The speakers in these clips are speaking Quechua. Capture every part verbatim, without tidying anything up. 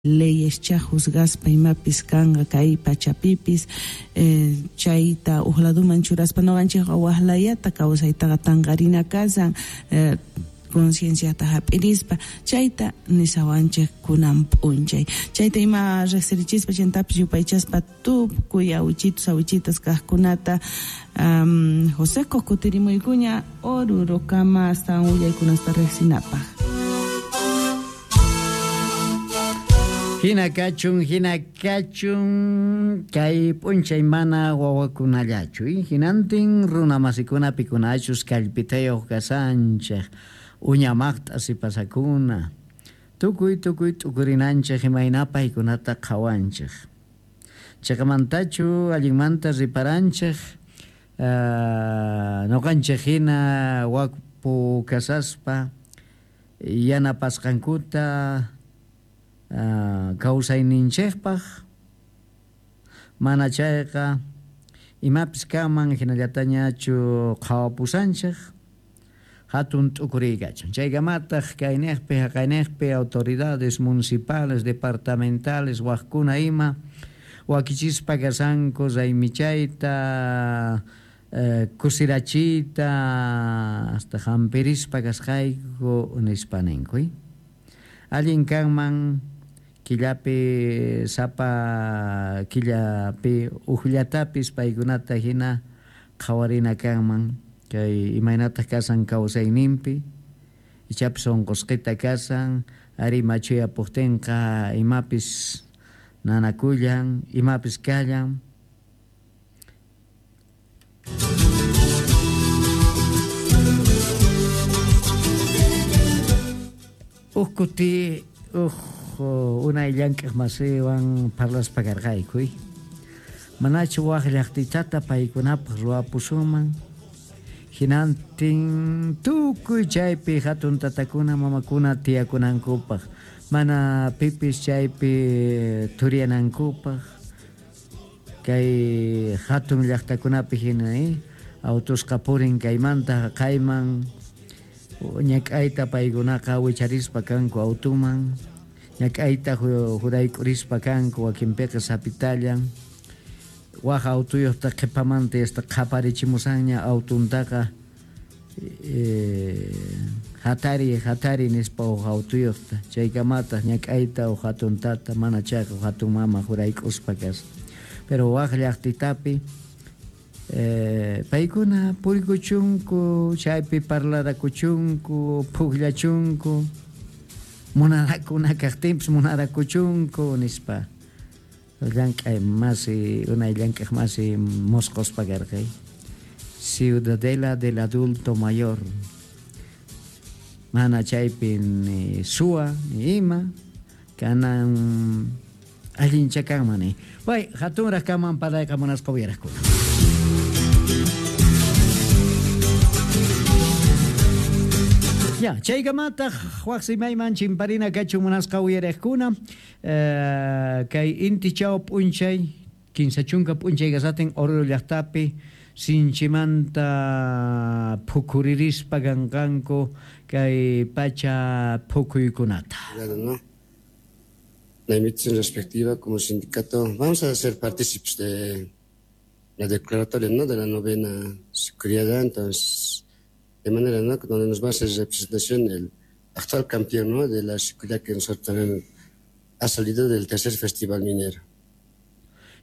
Leyescha juzgaspa imapis kanqa kay pachapipis eh, chayta uq laduman churaspa nuqanchikqa waqlayata kawsaytaqa tanqarina kasan eh, concienciata hap'irispa chayta nisawanchik kunan p'unchay chayta ima riqsirichispa chantapis yupaychaspa tukuy awichitus awichitas kaqkunata um, Joseco kutirimuykuña Orurokama astawan willaykunasta riqsinapaq. Hina kachun, hina kachun, kay p'unchay mana wawakunallachu, hinantin runamasikuna pikunachus kallpitayuq kasanchik, uñamaqta sipasakuna, tukuy tukuy t'ukurinanchik imayna paykunata qhawanchik. Chaymantachu allinmanta riparanchik, uh, nuqanchik hina wakpu kasaspa, yanapasqankuta, Uh, kawsayninchikpaq mana chayqa imapis kanman hinallatañachu qhawapusanchik hatun t'ukuriykachun chaykamataq kayniqpi haqayniqpi autoridades municipales departamentales waqkuna ima wakichispa kasanku raymichayta uh, kusirachiyta hasta hampirispa kasqayku nispa ninku. Allin kanman killapi sapa killapi uqllatapis paykunata hina qhawarina kanman kay imaynataq kasan kawsayninpi ichapis unqusqita kasan ari machuyapuqtinqa imapis nanakullan imapis kallan. Uq kuti uq unay llank'aq masiwan parlaspa karqayku manachu waq llaqtitata paykunapaq ruwapusunman hinantin tukuy chaypi hatun tatakuna mamakuna tiyakunankupaq mana pipis chaypi turiyanankupaq kay hatun llaqtakunapi hina eh? Autusqa purin kaymanta haqayman ñak'ayta paykunaqa wicharispa kanku autuman ñak'ayta jurayk'urispa kanku wakinpiqa sapitallan waq autuyuqta qhipamanta hasta qhaparichimusanña autuntaqa eh, hatari hatari nispa uq autuyuqta chaykamataq ñak'ayta uq hatun tata mana chayqa uq hatun mama jurayk'uspa kasqa pero waq llaqtitapi Eh, paykuna purikuchunku chaypi parlarakuchunku pukllachunku munarakuna kaqtinpis munarakuchunku nispa llank'ay masi unay llank'aq masi mosqospa karqay Ciudadela del adulto mayor mana chaypi ni suwa ni ima kanan allincha kanman way hatunraq kaman parlayqa munasqa uyaraqkuna. Ya, chaykamataq waq simayman chimparina kachun munasqa uyariqkuna eh, kay intichaw p'unchay kinsa chunka p'unchay kasatin Oruro llaqtapi sinchimanta phukuririspa kanqanku kay pacha phukuykunata. ¿No? La invitación respectiva como sindicato vamos a ser partícipes de la declaratoria, ¿no?, de la novena seguridad, entonces de manera, ¿no?, donde nos va a hacer representación el actual campeón, ¿no?, de la seguridad que nosotros también ha salido del tercer festival minero.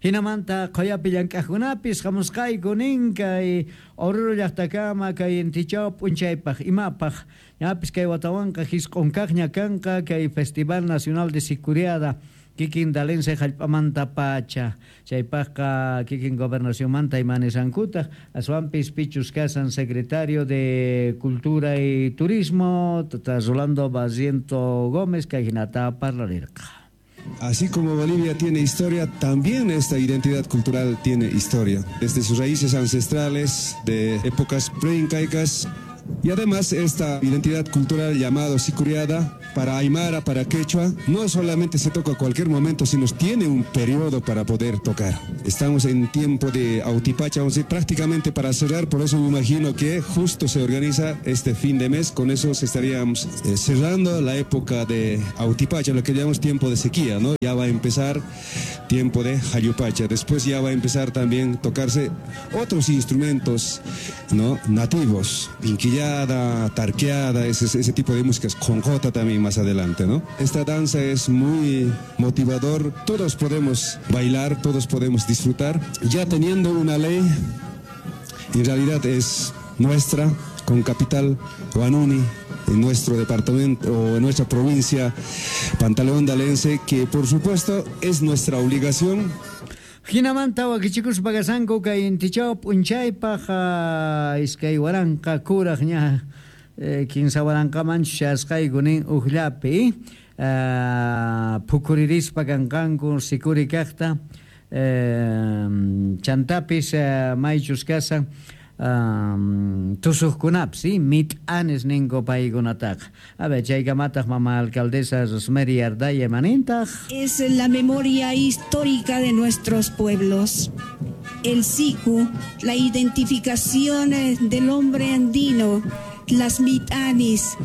Hinamanta qhayapi llank'aqkunapis hamusqayku nin kay Oruro llaqtakama kay intichaw p'unchaypaq imapaq ñapis kay watawanqa hisq'unkaqña kanqa kay Festival Nacional de Sicuriada kikin dalense hallp'amanta pacha chaypaqqa kikin gobernacionmanta imanisankutaq aswanpis pichus kasan secretario de Cultura y Turismo tata Rolando Barriento Gómez kay hinata parlarirqa. Así como Bolivia tiene historia, también esta identidad cultural tiene historia. Desde sus raíces ancestrales de épocas preincaicas Y además esta identidad cultural llamado sicuriada, para aymara, para quechua, no solamente se toca a cualquier momento, sino tiene un periodo para poder tocar. Estamos en tiempo de Autipacha, vamos a decir, prácticamente para cerrar, por eso me imagino que justo se organiza este fin de mes, con eso se estaríamos eh, cerrando la época de Autipacha, lo que llamamos tiempo de sequía, ¿no? Ya va a empezar tiempo de Jayupacha, después ya va a empezar también tocarse otros instrumentos, ¿no? Nativos, pinquillada, tarqueada, ese, ese tipo de músicas, con jota también más adelante, ¿no? Esta danza es muy motivador, todos podemos bailar, todos podemos disfrutar, ya teniendo una ley, en realidad es nuestra, con capital Huanuni, en nuestro departamento o en nuestra provincia Pantaleón de Alense, que por supuesto es nuestra obligación. Hinamanta wakichikuspa kasanku kay intichaw p'unchaypaq iskay waranqa kuraq ña kinsa waranqamanchu chasqayku nin uqllapi phukuririspa kanqanku sikuri kaqta chantapis maychus kasan Um, tusuqkunapis ¿sí? Mit'anes ninku paykunataqa. A ver, chaykamataq mama alcaldesa Rosemary Ardaya manintaq. Es la memoria histórica de nuestros pueblos. El siku, la identificación del hombre andino, las mitanis,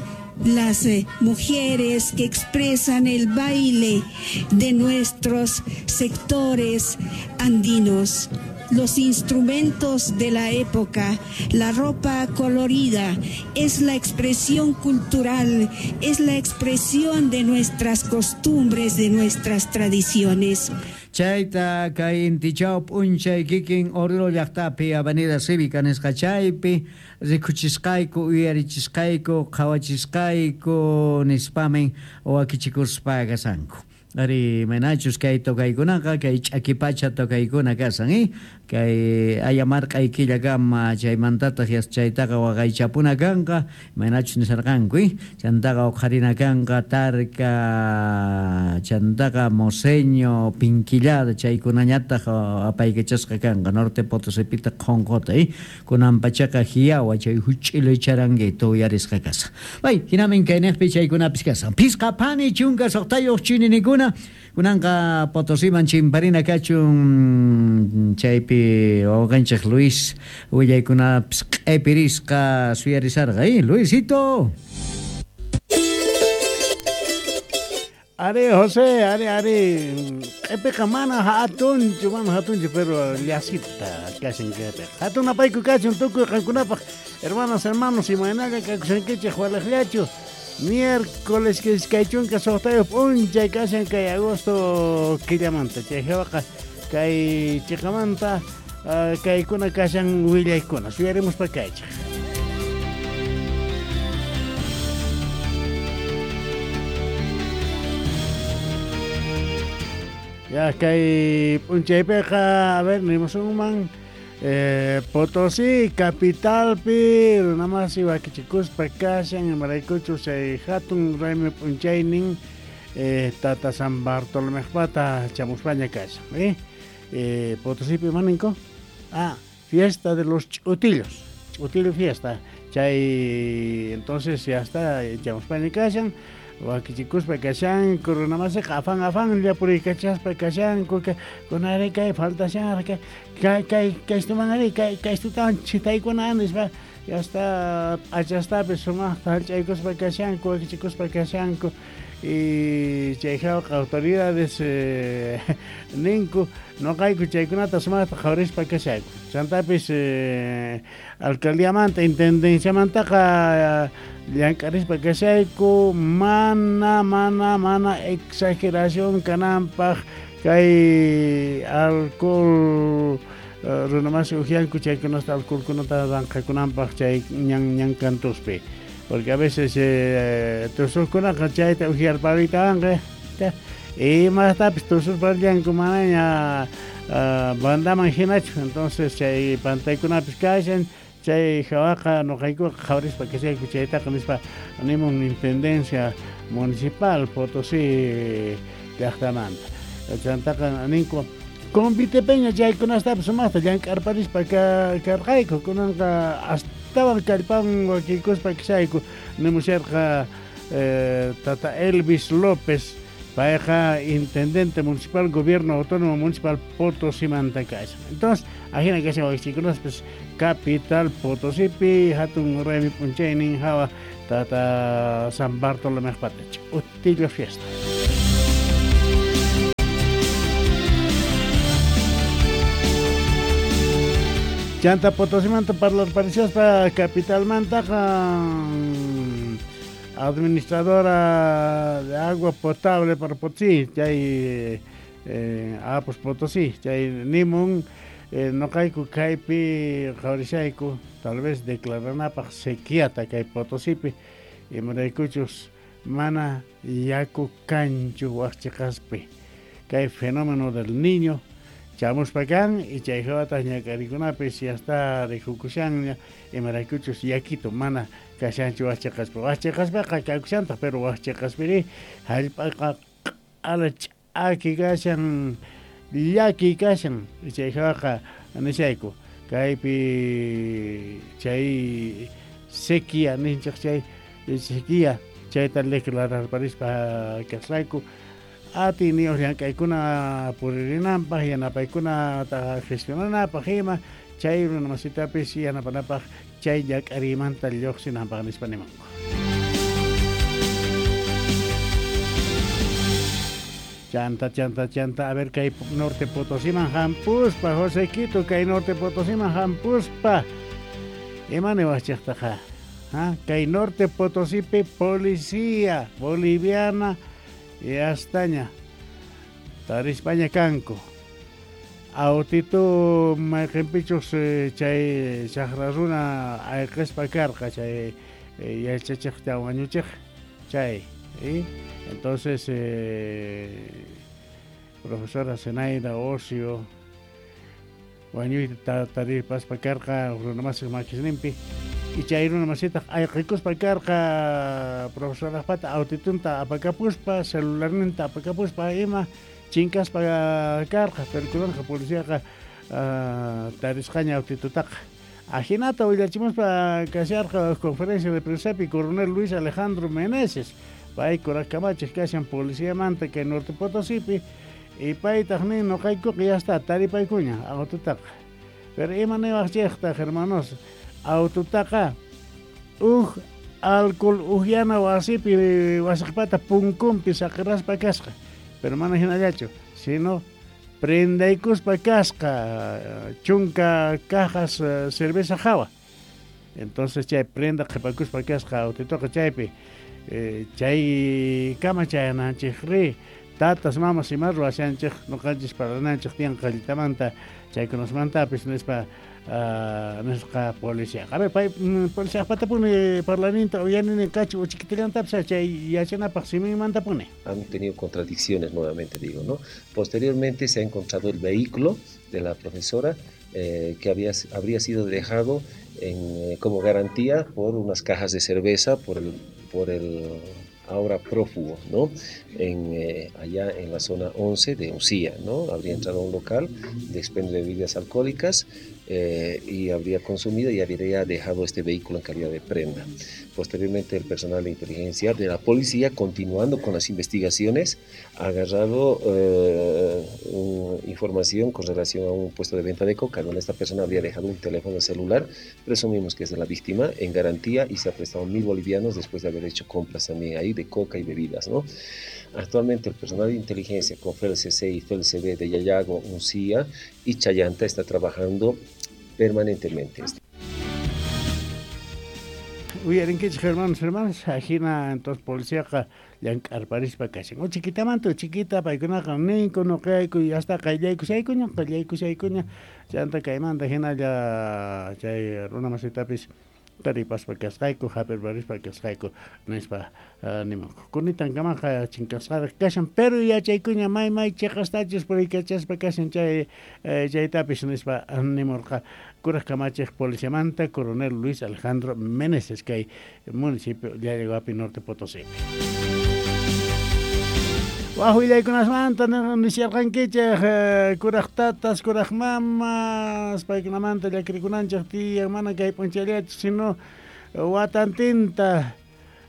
las eh, mujeres que expresan el baile de nuestros sectores andinos, los instrumentos de la época, la ropa colorida, es la expresión cultural, es la expresión de nuestras costumbres, de nuestras tradiciones. Chayta kay intichaw p'unchay kikin Oruro llaqtapi Avenida Cívica nisqa chaypi rikuchisqayku uyarichisqayku qhawachisqayku nispamin wakichikuspa kasanku. Ari manachus kay tokaykunaqa kay ch'akipacha tokaykuna kasan eh? Kay ayamarq'ay killakama chaymantataq chaytaqa waqaychapuna kanqa manachus nisarqanku eh? Chantaqa uqharina kanqa tarka chantaqa moseño pinquillada chaykunañataq apaykachasqa kanqa Norte Potosipita qhonqota eh? Kunan pachaqa hiyawa chay huch'ilo charanguito uyarisqa kasan. Bay hinamin kayniqpi chaykunapis kasan. Pisqa pani chunka suqtayuq chininikuna kunanqa Potosiman chimparina kachun chaypi wawqanchik Luis willaykunapis q'ipirisqa suyarisarqa eh Luisito. Are José, are are q'ipiqa mana hatunchu, mana hatunchu, pero llasita kashan kaypiqa. Hatun apayku kachun tukuy qankunapaq, hermanas, hermanos, imaynaqa kakushankichik walaqllachu. Miércoles que iskay chunka suqtayuq p'unchay kashan kay agosto killamanta chay hawaqa kay chiqamanta uh, kaykuna kashan willaykuna suyarimuspa kaychik. Ya kay p'unchaypiqa a ver nimusunman Eh, Potosí, capitalpi, runamasi wakichikuspa kashan, imaraykuchu chay hatun raymi p'unchaynin eh, tata San Bartolomejpata chamuspaña kashan. Eh? Eh, Potosípi imaninko? Ah, fiesta de los ch'utillos, ch'utillo fiesta. Chay, entonces ya está, chamuspaña kashan, wakichikuspa kashan, runamasiqa afán afán llapurikachaspa kashan, kunari kay faltashan, kay kay kaystuman ari kay kaystutawan chitaykuna nispa ya está p'achastapis sumaqta hallch'aykuspa kashanku wakichikuspa kashanku y chay hawqa autoridades eh, ninku noqayku chaykunata sumaqta qhawarispa kashayku chantapis eh, alcaldiamanta intendenciamantaqa llank'arispa kashayku mana mana mana exageración kananpaq kay alcohol uh, runamasi ujianku chaykunasta alcoholkunata ranqakunanpaq chay ñan ñan kantuspi porque a veces eh, tusuqkunaqa chayta ujiarpariytawanqa imastapis tusurparllanku manaña uh, bandaman hinachu entonces chay pantaykunapis kashan chay hawaqa noqaykuqa qhawarispa kashayku chaytaqa nispa nimun intendencia municipal Potosí llaqtamanta chantaqa ninku convitepeña chaykunastapis sumaqta llank'arparispa karqayku kunanqa Astawan kallpan wakikuspa kishayku nimusharqa eh, tata Elvis López payqa intendente municipal gobierno autónomo municipal Potosí-manta kashan. Entonces ajina kashan wakichikunaspis capital Potosípi hatun raymi p'unchaynin hawa tata San Bartolomé Patach utillo fiesta. Chanta Potosímanta parlarparishaspa capitalmantaqa administradora de agua potable para Potosí, chay eh, Apos Potosí, chay nimun eh, noqayku kaypi qhawarishayku tal vez declaranapaq sequiata kay Potosípi imaraykuchus mana yaku kanchu waqchiqaspi kay fenómeno del niño chamuspa kan y chay hawataq ñak'arikunapis ya está rikukushanña imaraykuchus yakito mana kashanchu waqchiqaspi waqchiqaspaqa kakushantaq pero waqchiqaspiri hallp'aqa q'ala ch'aki kashan llaki kashan chay hawaqa nishayku kaypi chay sequía ninchik chay sequía chayta declararparispa kasqayku atiniyuq llank'aykuna puririnanpaq yanapaykunata gestionanapaq ima chay runamasitapis yanapanapaq chay llak'ariymanta lluqsinanpaq nispa nimanku. Chanta, chanta, chanta, a ver kay Norte Potosíman hampuspa, José Quito, kay Norte Potosíman hampuspa. Ima niwaqchiqtaqa? ¿Ah? Kay Norte Potosípi policía boliviana y astaña tarispaña kanku. Autitu mayqinpichus chay chaqra runa ayqispa karqa chay yachachiqta wañuchiq chay. ¿Sí? Entonces, eh, profesora Zenaida Ocio, wañuyta taripaspa karqa runamasiq makisninpi y chay runamasitaq ayqikuspa karqa profesoraqpata autitunta apakapuspa celularninta apakapuspa ima chinkaspa karqa pero kunanqa policiaqa uh, tarisqaña autitutaqa. Ajinata willachimuspa kasharqa conferencia de prensapi coronel Luis Alejandro Meneses pay kuraq kamachiq kashan policiamanta kay Norte Potosípi y paytaq nin noqaykuqa ya está taripaykuña aututaqa. Pero ima niwaqchiqtaq hermanos aututaqa uj alcohol uhyana wasipi wasiqpata punkunpi saqiraspa kasqa pero mana hinallachu sino prendaykuspa kasqa chunka cajas cerveza hawa. Entonces chay prenda qhipakuspa kasqa autituqa chaypi Eh, chay kama chayananchik ri tatas mamas ima ruwashanchik noqanchis parlananchik tiyan qallitamanta chaykunasmantapis nispa uh, nisqa policía. A ver, pay policiaqpatapuni parlaninta uyanini kachu uchikitilantapis chay yachanapaq siminmantapuni. Han tenido contradicciones nuevamente, digo, ¿no? Posteriormente se ha encontrado el vehículo de la profesora eh, que había, habría sido dejado en, eh, como garantía por unas cajas de cerveza por el por el ahora prófugo, ¿no? En, eh, allá en la zona once de Uncía, ¿no? Habría entrado a un local de expendio de bebidas alcohólicas eh, y habría consumido y habría dejado este vehículo en calidad de prenda. Posteriormente, el personal de inteligencia de la policía, continuando con las investigaciones, ha agarrado eh, un, información con relación a un puesto de venta de coca, donde esta persona habría dejado un teléfono celular, presumimos que es de la víctima, en garantía, y se ha prestado mil bolivianos después de haber hecho compras también ahí de coca y bebidas, ¿no? Actualmente el personal de inteligencia con F E L C C y F E L C B de Llallago, Uncía y Chayanta está trabajando permanentemente. Uyarinkichik hermanos, hermanas, ajina entonces policiaqa llank'arparispa kashan. Uchikitamanta uchiquita paykunaqa ninku nuqayku y hasta qayllaykushaykuña, qayllaykushaykuña, chanta kaymanta hinalla chay runamasitapis taripaspa kasqayku, hap'irparispa kasqayku nispa uh, nimanku. Kunitankamaqa chinkasqaraq kashan, pero yachaykuña may may chiqastachus puriykachaspa kashan chay eh, chaytapis nispa nimurqa kuraq kamachiq policiamanta coronel Luis Alejandro Meneses kay municipio Llallaguapi Norte Potosí. Waj willaykunasmanta nisharqankichik kuraq tatas, kuraq mamas, paykunamanta llakirikunanchik tiyan, mana kay p'unchayllachu, sino watantinta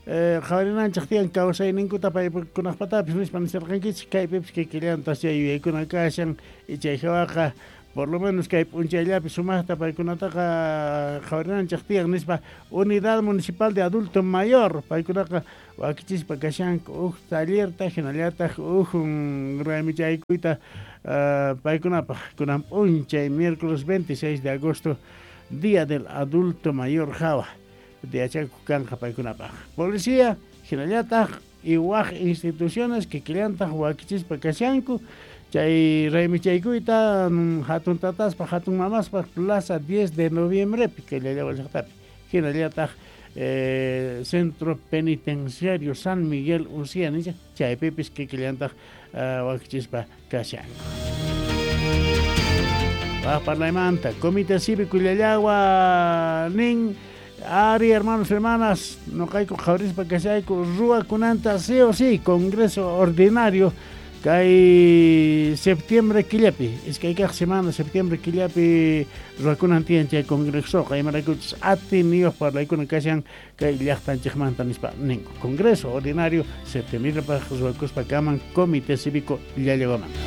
qhawarinanchik tiyan kawsayninkuta paykunaqpatapis nispa nisharqankichik, kaypipis kikillantas chay yuyaykuna kashan, chay hawaqa por lo menos kay p'unchayllapi sumaqta paykunataqa qhawarinanchik tiyan nispa Unidad Municipal de Adulto Mayor paykunaqa wakichispa kashanku huk tallerta hinallataq huk raymichaykuyta paykunapaq kunan p'unchay miércoles veintiséis de agosto, Día del Adulto Mayor hawa yachakuq kanqa paykunapaq. Policía hinallataq y waj instituciones kikillantaq wakichispa kashanku chay raymichaykuyta hatun tataspaq hatun mamaspaq Plaza diez de noviembre kay Llallagua llaqtapi hinallataq eh, Centro Penitenciario San Miguel Uncía nisha chaypipis kikillantaq uh, wakichispa kashanku. Waj parlaymanta Comité Cívico Llallagua nin ari hermanos hermanas noqayku qhawarispa kashayku ruwakunanta sí o sí Congreso Ordinario kay septiembre killapi iskay kaq semana septiembre killapi ruwakunan tiyan chay congresoqa imaraykuchus atiniyuq parlaykuna kashan kay llaqtanchikmanta nispa ninku Congreso Ordinario septiembrepaq ruwakuspa kaman Comité Cívico Llallaguamanta.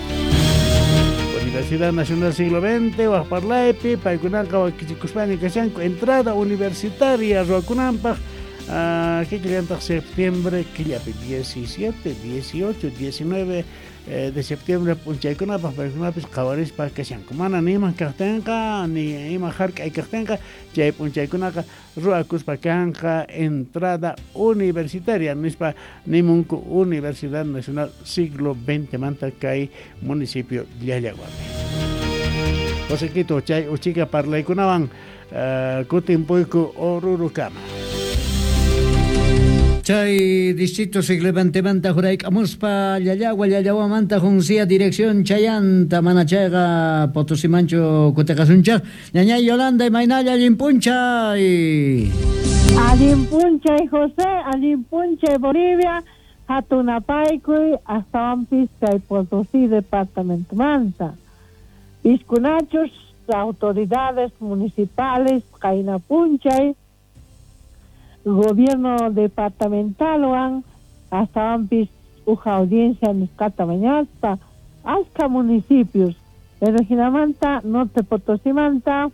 Universidad Nacional Siglo veinte waj parlaypi paykunaqa wakichikuspaña kashanku entrada universitaria ruwakunanpaq Uh, kikillantaq septiembre killapi diecisiete, dieciocho, diecinueve eh, de septiembre p'unchaykunapaq paykunapis qhawarispa kashanku mana ni ima kaqtinqa ni ima hark'ay kaqtinqa chay p'unchaykunaqa ruwakuspa kanqa entrada universitaria nispa nimunku Universidad Nacional Siglo veinte manta kay municipio Llallaguapi. José Quito chay uchika parlaykunawan uh, kutinpuyku Orurukama. Chay distrito siglo veinte jurayk'amuspa Llallagua Llallaguamanta Juncia dirección chayanta mana chayqa Potosimanchu kutiqasunchaq ñañay Yolanda imaynalla allin p'unchay. Allin p'unchay José, allin p'unchay Bolivia, hatunapaykuy astawanpis kay Potosí departamentomanta. Piskunachus autoridades municipales qayna p'unchay gobierno departamental wan astawanpis uj audiencia nisqata mañaspa achka municipios pero hinamanta Norte Potosimanta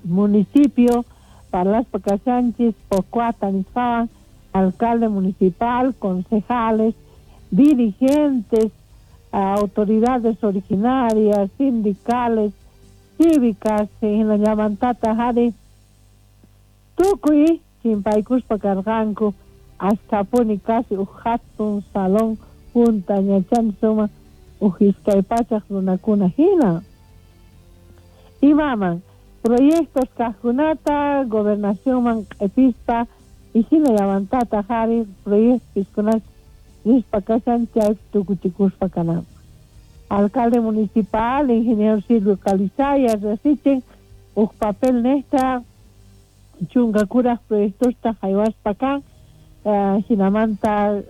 municipio parlaspa kashanchis Pocuata nisqawan alcalde municipal, concejales, dirigentes, autoridades originarias, sindicales, cívicas, hinallamantata hari tukuy chimpaykuspa karqanku ashkapuni casi uj hatun salón junta ñachani suma uj iskay pachaq runakuna hina. Imaman proyectos kaqkunata gobernacionman q'ipispa y hinallamantata hari proyectos nispa kashan chay tukuchikuspa kananpaq. Alcalde municipal, ingeniero Silvio Calizaya, resichin uj papel nesta chunka kuraq proyectosta haywaspa kan uh, hinamanta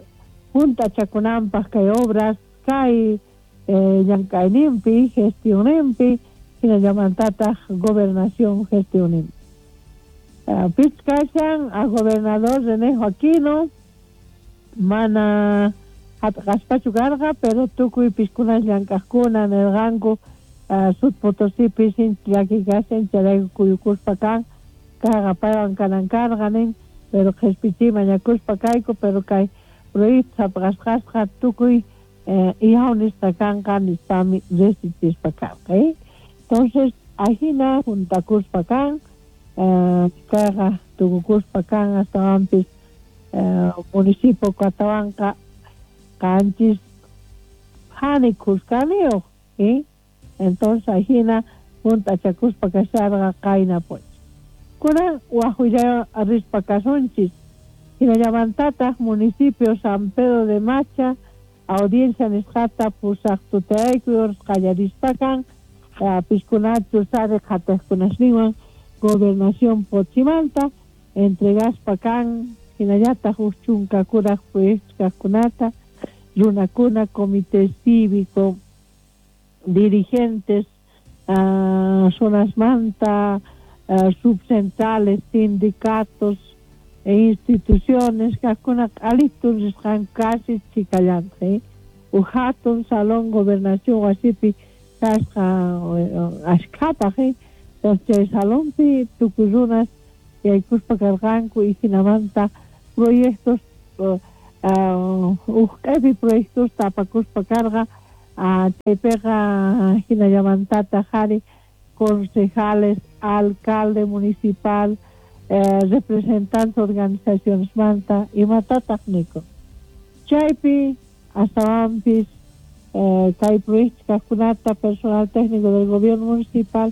junta chakunanpaq kay obras kay eh, llank'ayninpi gestionninpi hinallamantataq gobernación gestionninpi. Uh, Pichkashan a gobernador René Joaquino mana hap'qaspachu karqa pero tukuy piskunas llank'aqkuna nirqanku uh, Sud Potosipi sinchi llaki kashan chayrayku kuyukuspa kan kayqa paywan kanan karqa nin pero qhispichiy mañakuspa kayku pero kay proyecto hap'qasqasqa tukuy eh, ihaw nisqa kanqa nispami resichispa karqa eh? Entonces ahina juntakuspa kan eh, kayqa tukukuspa kan astawanpis eh, municipio Catahuanca qanchis hani kuskaniyuq eh? Entonces ahina juntachakuspa kasharqa qayna p'unchay. Kunan waj rispa kasunchis hinallamantataq municipio San Pedro de Macha audiencia nisqata pusaq tutayaykuy qallarispa kan piskunachus sari qhatiqkunasninwan gobernación Pochimanta entregaspa kan hinallataq huk chunka kuraq proyectos kaqkunata runakuna, comité cívico, dirigentes uh, zonasmanta, uh, subcentrales, sindicatos e instituciones kaqkuna q'alitun risqanku casi chikallanta, eh? Uj hatun salón gobernación wasipi kasqa ashkhapaq, eh? Entonces chay salonpi tukuy runas yaykuspa karqanku y hinamanta proyectos uh, uh, uj q'epi proyectos tapakuspa karqa, uh, chaypiqa hinallamantataq qhari concejales, alcalde municipal, eh, representantes organizaciones manta imatataq niko. Chaypi astawanpis eh, kay proyectos kaqkunata personal técnico del gobierno municipal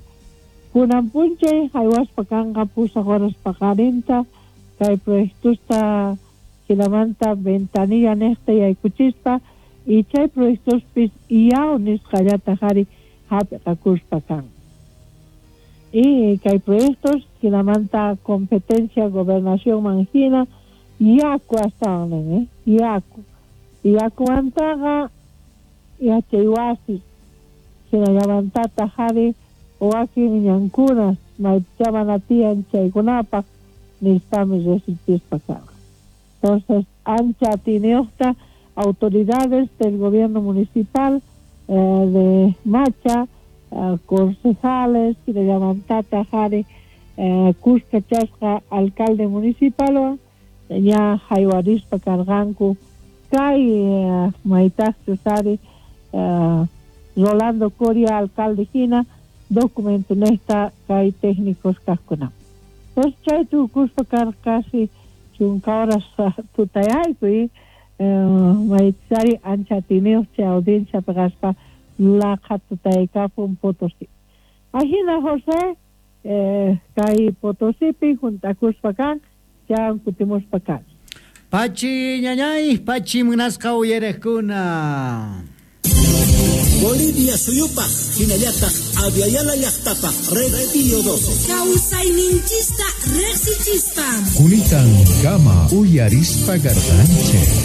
kunan p'unchay haywaspa kanqa pusaq horas paqarinta kay proyectosta hinamanta ventanilla niqta yaykuchispa y chay proyectospis iyaw nisqallata qhari hap'iqakuspa kan. Y kay proyectos hinamanta competencia gobernación manhina yaku astawan nin, eh? Yaku. Yakumantaqa yachay wasi hinallamantataq qhari wakin ñankuna maypicha mana tiyan chaykunapaq nispami riqsichispa karqa. Entonces, ancha atiyniyuqta autoridades del gobierno municipal eh, de Macha, eh, concejales, hinallamantataq qhari eh, kuskachasqa alcalde municipalwan ña haywarispa karqanku kay eh, maytaqchus ari eh, Rolando Coria alcalde hina documento nesta kay técnicos kaqkuna. Entonces chay tukuspa karqa casi chunka horas tutayayku y eh, maytsari ancha atiyniyuq chay audiencia kaspa laqha tutaykapun Potosí. Ahina José eh, kay Potosipi juntakuspa kan chan kutimuspa kan. Pachi ñañay, pachi munasqa uyariqkuna. Bolivia suyupaq hinallataq Aviala llaqtapaq Red Pío doce. Kawsayninchista riqsichispa. Kunitan kama uyarispa karqanchik.